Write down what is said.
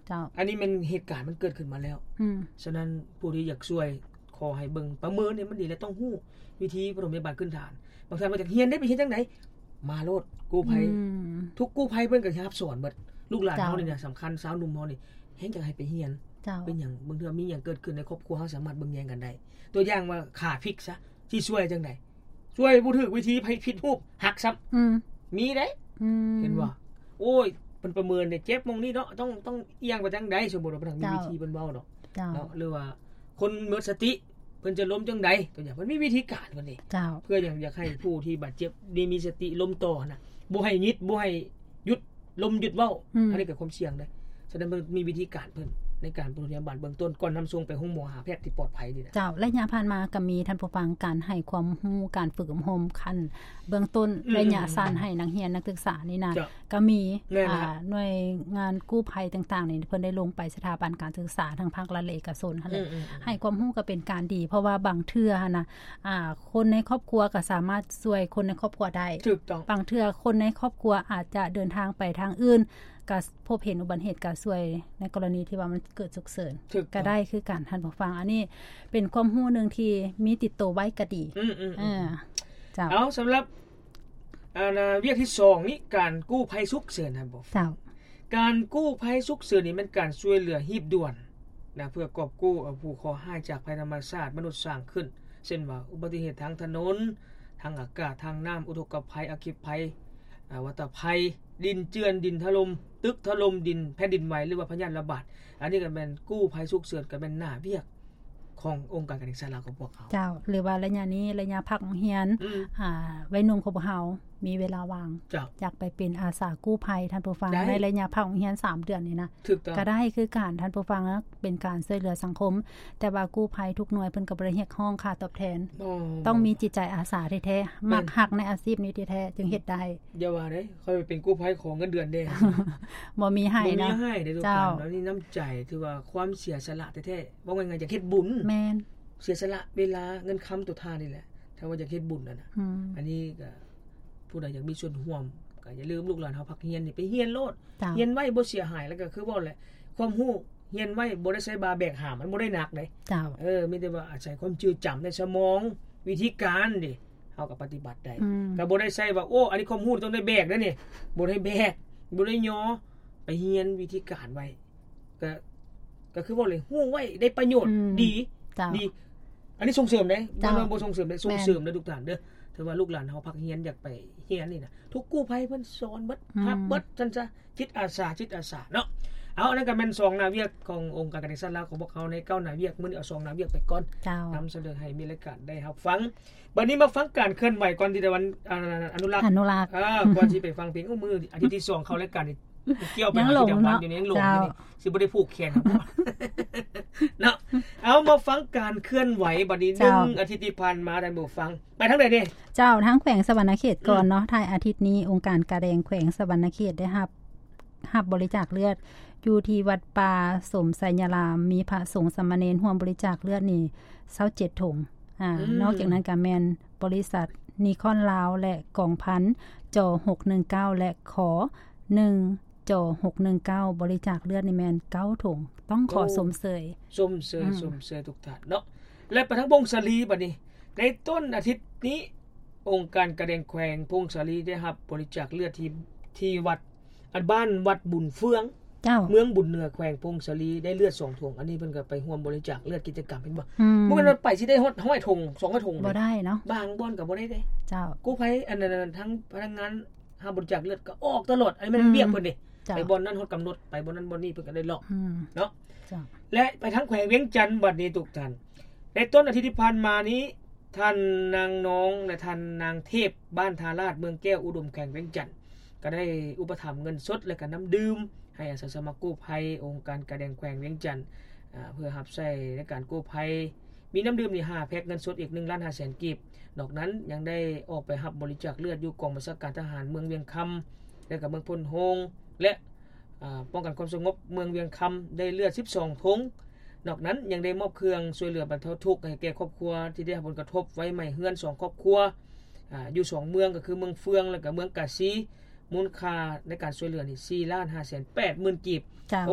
ເຈົ້າ ອັນນີ້ແມ່ນເຫດການມັນເກີດຂຶ້ນມາແລ້ວ ອືມ ສະນັ້ນຜູ້ທີ່ຢາກຊ່ວຍ ຂໍໃຫ້ເບິ່ງປະເມີນໃຫ້ມັນດີ ແລະ ຕ້ອງຮູ້ວິທີປະຖົມພະຍາບານພື້ນຖານ. ບາງທ່ານວ່າຢາກຮຽນໄດ້ ໄປຮຽນຈັ່ງໃດ? ມາໂລດ ກູ້ໄພ ອືມ ທຸກກູ້ໄພເພິ່ນກໍຮັບສອນເບິດ. ລູກຫຼານເຮົານີ້ນະ ເຈົ້າ ສຳຄັນ ຊາວໜຸ່ມເຮົານີ້ແຮ່ງຢາກໃຫ້ໄປຮຽນ. ເຈົ້າ ເປັນຫຍັງ? ບາງເທື່ອມີຫຍັງເກີດຂຶ້ນໃນຄອບຄົວ ເຮົາສາມາດເບິ່ງແຍງກັນໄດ້. ຕົວຢ່າງວ່າຂາພິກຊະ ຊິຊ່ວຍຈັ່ງໃດ? ຊ່ວຍບໍ່ຖືກວິທີ ໃຜຜິດຮູບ ຫັກຊ້ຳ ອືມ ມີເດ້ ອືມ ເຫັນບໍ່? ໂອ້ຍ ເພິ່ນປະເມີນເດ້ ເຈັບໝ່ອງນີ້ເນາະ ຕ້ອງ ຕ້ອງອຽງໄປທາງໃດ ສົມມຸດວ່າເພິ່ນມີ ເຈົ້າ ວິທີເພິ່ນເວົ້າດອກ ເຈົ້າ ເນາະ ຫຼືວ່າຄົນໝົດສະຕິ ເພິ່ນຈະລົ້ມຈັ່ງໃດ ຕົວຢ່າງ ເພິ່ນມີວິທີການເພິ່ນເດ້ ເຈົ້າ ເພື່ອຫຍັງ? ຢາກໃຫ້ຜູ້ທີ່ບາດເຈັບນີ້ມີສະຕິລົ້ມຕໍ່ຫັ້ນນະ ບໍ່ໃຫ້ຫຍິດ ບໍ່ໃຫ້ຢຸດ ລົມຢຸດເວົ້າ ອືມ ອັນນີ້ກໍຄວາມສ່ຽງເດ້. ສະນັ້ນເພິ່ນມີວິທີການເພິ່ນໃນການປະຖົມພະຍາບານເບື້ອງຕົ້ນ ກ່ອນນຳສົ່ງໄປໂຮງໝໍຫາແພດທີ່ປອດໄພນີ້ນະ. ເຈົ້າ ໄລຍະຜ່ານມາກໍມີ ທ່ານຜູ້ຟັງ ການໃຫ້ຄວາມຮູ້ ການຝຶກອົບຮົມຂັ້ນເບື້ອງຕົ້ນ ອືມ ໄລຍະ ອືມ ສັ້ນໃຫ້ນັກຮຽນນັກສຶກສານີ້ນະ ເຈົ້າ ກໍມີ ແມ່ນລະ ອ່າ ໜ່ວຍງານກູ້ໄພຕ່າງໆນີ້ ເພິ່ນໄດ້ລົງໄປສະຖາບັນການສຶກສາ ທັງພາກລັດ ແລະ ເອກະຊົນຫັ້ນແຫຼະ ອືມ ອືມ ໃຫ້ຄວາມຮູ້ກໍເປັນການດີ ເພາະວ່າບາງເທື່ອຫັ້ນນະ ອ່າ ຄົນໃນຄອບຄົວກໍສາມາດຊ່ວຍຄົນໃນຄອບຄົວໄດ້ ຖືກຕ້ອງ ບາງເທື່ອຄົນໃນຄອບຄົວອາດຈະເດີນທາງໄປທາງອື່ນ ກະພົບເຫັນອຸບັດເຫດກະຊ່ວຍໃນກໍລະນີທີ່ວ່າມັນເກີດສຸກເສີນ ຖືກຕ້ອງ ກະໄດ້ຄືກັນ ທ່ານຜູ້ຟັງ. ອັນນີ້ເປັນຄວາມຮູ້ໜຶ່ງທີ່ມີຕິດໂຕໄວ້ກະດີ ອືມໆໆ ເອີ ເຈົ້າ ເອົາ ສຳລັບ ອັນ ອາ ວຽກທີສອງນີ້ ການກູ້ໄພສຸກເສີນ ທ່ານຜູ້ ເຈົ້າ ການກູ້ໄພສຸກເສີນນີ້ແມ່ນການຊ່ວຍເຫຼືອຮີບດ່ວນນະ ເພື່ອກອບກູ້ເອົາຜູ້ເຄາະຮ້າຍຈາກໄພທຳມະຊາດມະນຸດສ້າງຂຶ້ນ ເຊັ່ນວ່າ ອຸບັດຕິເຫດທາງຖະໜົນ, ທາງອາກາດ, ທາງນ້ຳ, ອຸທົກກະໄພ, ອັກຄີໄພ, ອາ ວັດຕະໄພ, ດິນເຈື່ອນ, ດິນຖະຫຼົ່ມ, ຕຶກຖະຫຼົ່ມ, ດິນ ແຜ່ນດິນໄຫວ ຫຼືວ່າພະຍາດລະບາດ. ອັນນີ້ກໍແມ່ນກູ້ໄພສຸກເສີນ ກໍແມ່ນໜ້າວຽກຂອງອົງການການແຫ່ງຊາດລາວຂອງພວກເຮົາ. ເຈົ້າ ຫຼືວ່າໄລຍະນີ້ ໄລຍະພັກໂຮງຮຽນ ອືມ ອາ ໄວໜຸ່ມຂອງພວກເຮົາມີເວລາວ່າງ ເຈົ້າ ຢາກໄປເປັນອາສາກູ້ໄພ ທ່ານຜູ້ຟັງ ໄດ້ ໃນໄລຍະພັກໂຮງຮຽນສາມເດືອນນີ້ນະ ຖືກຕ້ອງ ກໍໄດ້ຄືກັນ ທ່ານຜູ້ຟັງ ເປັນການຊ່ວຍເຫຼືອສັງຄົມ ແຕ່ວ່າກູ້ໄພທຸກໜ່ວຍເພິ່ນກໍບໍ່ໄດ້ຮຽກຮ້ອງຄ່າຕອບແທນ ອໍ ຕ້ອງມີຈິດໃຈອາສາແທ້ໆ ແມ່ນ ມັກຮັກໃນອາຊີບນີ້ແທ້ໆ ຈຶ່ງເຮັດໄດ້. ຢ່າວ່າເດ້ ຂ້ອຍເປັນກູ້ໄພຂໍເງິນເດືອນແດ່ ບໍ່ມີໃຫ້ເນາະ ບໍ່ມີໃຫ້ເດ້ ເຈົ້າ ທຸກທ່ານເນາະ. ນີ້ນ້ຳໃຈ ຖືວ່າຄວາມເສຍສະຫຼະແທ້ໆ ເວົ້າງ່າຍໆ ຢາກເຮັດບຸນ ແມ່ນ ເສຍສະຫຼະເວລາເງິນຄຳຕົວທ່ານນີ້ແຫຼະ ຖ້າວ່າຢາກເຮັດບຸນຫັ້ນນະ ອືມ ອັນນີ້ກໍ ຜູ້ໃດຢາກມີສ່ວນຮ່ວມ ກໍຢ່າລືມ ລູກຫຼານເຮົາພັກຮຽນນີ້ ໄປຮຽນໂລດ ເຈົ້າ ຮຽນໄວ້ບໍ່ເສຍຫາຍ. ແລ້ວກໍຄືເວົ້າແຫຼະ ຄວາມຮູ້ຮຽນໄວ້ບໍ່ໄດ້ໃຊ້ບ່າແບກຫາມ ມັນບໍ່ໄດ້ໜັກເດ້ ເຈົ້າ ເອີ ມີແຕ່ວ່າອາໄສຄວາມຈື່ຈຳໃນສະໝອງ ວິທີການເດ້ ເຮົາກໍປະຕິບັດໄດ້ ອືມ ກໍບໍ່ໄດ້ໃຊ້ວ່າ ໂອ້ ອັນນີ້ຄວາມຮູ້ຕ້ອງໄດ້ແບກເດ້ນີ້ ບໍ່ໄດ້ແບກ ບໍ່ໄດ້ຍໍ ໄປຮຽນວິທີການໄວ້ ກໍ ກໍຄືເວົ້າເລີຍ ຮູ້ໄວ້ໄດ້ປະໂຫຍດ ອືມ ດີ ເຈົ້າ ດີ ອັນນີ້ສົ່ງເສີມເດ້ ເຈົ້າ ບໍ່ແມ່ນວ່າບໍ່ສົ່ງເສີມເດ້ ແມ່ນ ສົ່ງເສີມເດ້ ທຸກທ່ານເດີ. ຖືວ່າລູກຫຼານເຮົາພັກຮຽນ ຢາກໄປຮຽນນີ້ນະ ທຸກກູ້ໄພເພິ່ນສອນເບິດ ອືມ ຮັບເບິດ ຊັ້ນຊະ ຈິດອາສາ ຈິດອາສາເນາະ. ເອົາ ອັນນັ້ນກໍແມ່ນສອງໜ້າວຽກຂອງອົງການການແຫ່ງຊາດລາວຂອງພວກເຮົາໃນເກົ້າໜ້າວຽກ ມື້ນີ້ເອົາສອງໜ້າວຽກໄປກ່ອນ ເຈົ້າ ນຳສະເໜີໃຫ້ມີລາຍການໄດ້ຮັບຟັງ. ບັດນີ້ມາຟັງການເຄື່ອນໄຫວກ່ອນ ທີ່ຕາວັນ ອາ ອະນຸລັກ ອະນຸລັກ ເອີ ກ່ອນຊິໄປຟັງເພງ. ໂອ້ ມື້ອາທິດທີສອງເຂົ້າລາຍການນີ້ ກ່ຽວໄປຫາ ຍັງຫຼົງເນາະ ຈຳວັນຢູ່ນີ້ ຍັງຫຼົງຢູ່ນີ້ ເຈົ້າ ຊິບໍ່ໄດ້ຜູກແຂນເນາະ. ເອົາ ມາຟັງການເຄື່ອນໄຫວບັດນີ້ ເຈົ້າ ໜຶ່ງອາທິດທີ່ຜ່ານມາ ທ່ານຜູ້ຟັງ ໄປທາງໃດເດ້? ເຈົ້າ ທາງແຂວງສະຫວັນນະເຂດກ່ອນເນາະ ອືມ ທ້າຍອາທິດນີ້ ອົງການກາແດງແຂວງສະຫວັນນະເຂດໄດ້ຮັບ ຮັບບໍລິຈາກເລືອດຢູ່ທີ່ວັດປ່າສົມໄຊຍາລາມ ມີພະສົງສາມະເນນຮ່ວມບໍລິຈາກເລືອດນີ້ຊາວເຈັດຖົງ. ອາ ອືມ ນອກຈາກນັ້ນກໍແມ່ນບໍລິສັດນີຄອນລາວ ແລະ ກອງພັນ ຈ ຫົກໜຶ່ງເກົ້າ ແລະ ຂ ໜຶ່ງ ຈ ຫົກໜຶ່ງເກົ້າ ບໍລິຈາກເລືອດນີ້ແມ່ນເກົ້າຖົງ ຕ້ອງຂໍ ໂອ້ ຊົມເຊີຍ ຊົມເຊີຍ ອືມ ຊົມເຊີຍທຸກທ່ານເນາະ. ແລະ ໄປທາງຜົ້ງສາລີບັດນີ້ ໃນຕົ້ນອາທິດນີ້ ອົງການກາແດງແຂວງຜົ້ງສາລີໄດ້ຮັບບໍລິຈາກເລືອດທີ່ ທີ່ວັດ ອັນ ບ້ານວັດບຸນເຟືອງ ເຈົ້າ ເມືອງບຸນເໜືອ ແຂວງຜົ້ງສາລີ ໄດ້ເລືອດສອງຖົງ. ອັນນີ້ເພິ່ນກໍໄປຮ່ວມບໍລິຈາກເລືອດ ກິດຈະກຳ ເຫັນບໍ່? ອືມ ບໍ່ແມ່ນວ່າໄປຊິໄດ້ຮອດຮ້ອຍຖົງ ສອງຮ້ອຍຖົງ ບໍ່ໄດ້ເນາະ ບາງບ່ອນກໍບໍ່ໄດ້ເດ້ ເຈົ້າ ກູ້ໄພ ອັນນັ້ນ ທາງພະນັກງານຮັບບໍລິຈາກເລືອດກໍອອກຕະຫຼອດ ອັນນີ້ແມ່ນ ອືມ ວຽກເພິ່ນເດ້ ເຈົ້າ ໄປບ່ອນນັ້ນຮອດກຳນົດ ໄປບ່ອນນັ້ນບ່ອນນີ້ ເພິ່ນກໍໄດ້ເລາະ ອືມ ເນາະ ເຈົ້າ ແລະ ໄປທາງແຂວງວຽງຈັນບັດນີ້ ທຸກທ່ານ ໃນຕົ້ນອາທິດທີ່ຜ່ານມານີ້ ທ່ານນາງນອງ ແລະ ທ່ານນາງເທບ ບ້ານທ່າລາດ ເມືອງແກ້ວອຸດົມ ແຂວງວຽງຈັນ ກໍໄດ້ອຸປະຖຳເງິນສົດ ແລະ ກໍນ້ຳດື່ມ ໃຫ້ອາສາສະໝັກກູ້ໄພ ອົງການກາແດງແຂວງວຽງຈັນ ອາ ເພື່ອຮັບໃຊ້ໃນການກູ້ໄພ. ມີນ້ຳດື່ມນີ້ຫ້າແພັກ ເງິນສົດອີກໜຶ່ງລ້ານຫ້າແສນກີບ. ນອກນັ້ນຍັງໄດ້ອອກໄປຮັບບໍລິຈາກເລືອດຢູ່ກອງບັນຊາການທະຫານເມືອງວຽງຄຳ ແລະ ກໍເມືອງໂພນໂຮງ ແລະ ອາ ປ້ອງກັນຄວາມສະຫງົບເມືອງວຽງຄຳ ໄດ້ເລືອດສິບສອງຖົງ. ນອກນັ້ນຍັງໄດ້ມອບເຄື່ອງຊ່ວຍເຫຼືອບັນເທົາທຸກໃຫ້ແກ່ຄອບຄົວທີ່ໄດ້ຮັບຜົນກະທົບໄຟໄໝ້ເຮືອນສອງຄອບຄົວ ອາ ຢູ່ສອງເມືອງ ກໍຄືເມືອງເຟືອງ ແລະ ກໍເມືອງກາສີ ມູນຄ່າໃນການຊ່ວຍເຫຼືອນີ້ສີ່ລ້ານຫ້າແສນແປດໝື່ນກີບ. ເຈົ້າ ໂອ້